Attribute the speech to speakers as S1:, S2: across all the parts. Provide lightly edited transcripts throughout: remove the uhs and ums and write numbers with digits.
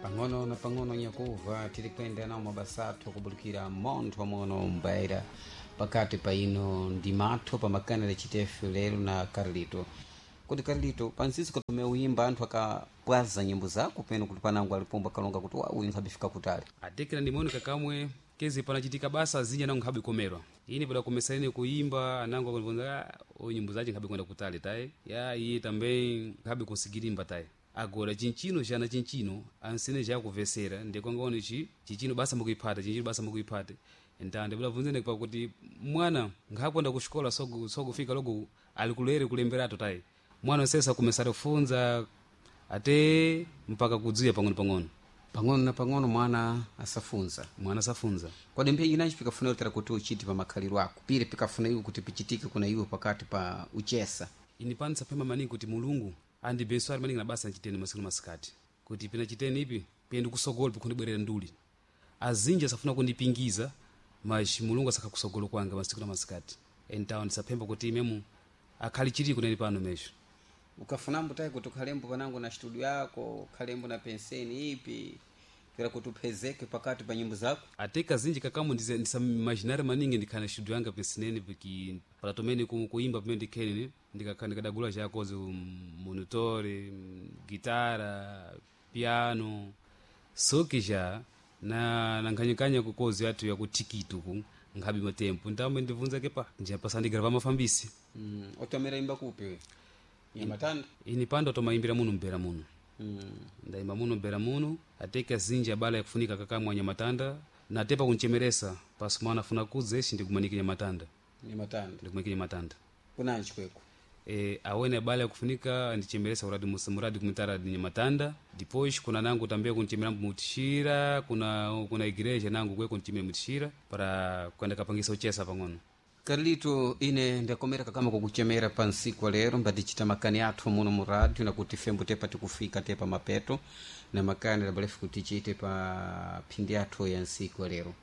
S1: Pang'ono na pang'ono nyakuva tiri kuyenda nawo mabasa athu kubulikira montho mono mbaira pakati pa ino ndi matho pamakanela chitefe lero na Carlito. Kuti Carlito, pansinsi katume uyimba anthu akapwaza nyimbo zako peno kuti panango alipomba kalonga kuti wa uyu nkhabifika kutali.
S2: Atekera ndimonika kamwe kezi panachitika basa azinji anango nkhabe komerwa ine padakomesa ine kuimba anango akundiponza uyu nyimbo zace nkhabe kwenda kutali tayi ya iye tambe nkhabe kusigirimba tayi. Agora chinchino chana chinchino ansene chakuvesera ndikwangaone chi chichino basa mukuiphata chinchino basa mukuiphata ntande budabvunzene pakuti mwana nkhakwenda kuxikola sokufika logo ali kulere kulemberato tayi mwana sesa kumesare kufunza ate mpaka kudziya pang'ono pang'ono.
S1: Pang'ono na pang'ono mwana asafunza.
S2: Mwana asafunza.
S1: Kodi mphenyi nanji pikafuna utera kuti uchite pa makhaliro ako pire pikafuna iwe kuti pichitike kuna iwe pakati pa uchesa?
S2: Ini pano saphema maningi kuti Mulungu andibeswari maningi na basa nchiteni masiku na masikati kuti pina chiteni ipi piyende kusogolo pikundibwerera nduli azinji asafuna kundipingiza mas Mulungu asakha kusogolo kwanga masiku na masikati entawo ndisaphemba kuti imemu akhali chiri kuneni pano mesho.
S1: Ukafunambo tayi kuti ukhalembo panango na studio yako ukhalembo na penseni ipi kera kuti uphezeke pakati pa nyimbo zako?
S2: Ate kazinji kakamo ndisaimaginare maningi ndikhala na studio yanga pensenene piki palatomene kuimba pamene ndikhenene ndikakhala ndikadagula chakozi monitore, gitara, piano soki ja na nkhanyakanya kukozi yathu yakutikiti uku nkhabe matempo ntambe ndibvunza kepa njapasa mafambisi.
S1: Otomera imba kupi we Nyamatanda?
S2: Ini pando tomayimbira muno mbera muno. Ndayimba muno mbera muno ate kazinji abala yakufunika kakamwa Nyamatanda natepa kunchemeresa pasu mwana afuna kudza ixi ndikumanike Nyamatanda.
S1: Nyamatanda.
S2: Ndikumanike Nyamatanda.
S1: Kunanji kweko?
S2: E, awene abala yakufunika andichemeresa uradi muradi kumitara di Nyamatanda depois kuna nangu tambia kunchemera mutishira kuna igreja nangu kwe kunchemera mutishira para kwenda kapangisa uchesa pang'ono.
S1: Carlito, ine ndakomera kakama kukuchemera pa nsiku lero mbatichita makani athu muno mu radio nakuti fembo tepa tikufika tepa mapeto na makani labalefu kuti tichite pa phindi athu ya nsiku lero.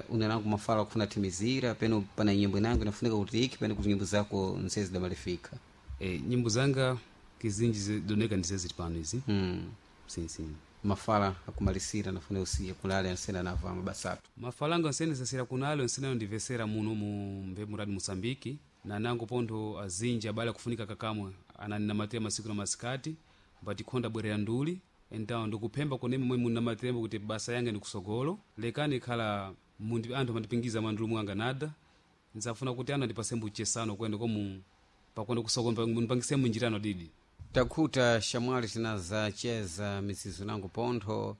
S1: Una nangu mafala kufuna timizira peno pana nyimbo nangu inafunika kuti iki peno kuti nyimbo zako nsezi damalifika.
S2: E, nyimbo zanga kizinji zidoneka ndizeziti pano izi. Sim.
S1: Mafala akumalisira nafuna usiye kulale ansena nava mabasa athu.
S2: Mafalanga nsene sasira kunalo nsene ndivesera muno mu mbe muradi Mosambiki na nangu pontho azinji abale kufunika kakamwe ananinamatira masiku na masikati mbatikhonda bwerera nduli entawo ndikuphemba kuneme momwe munamatirembo kuti basa yange ndikusogolo lekani khala mundi anthu amandipingiza mandulu mwanga nada nzafuna kuti anthu andipasembo uchesano kwende komu pakwenda kusogolo mundipangisemo njirano didi.
S1: Takhuta shamwali tinazacheza mizizo nangu pontho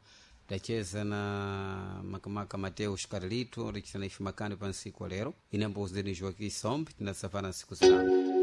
S1: tacheza na makamaka Mateus Carlito tichita na ife makani pa nsiku wa lero. Ine ambozideni Joaquim Sombe tinasafana nsiku zinango.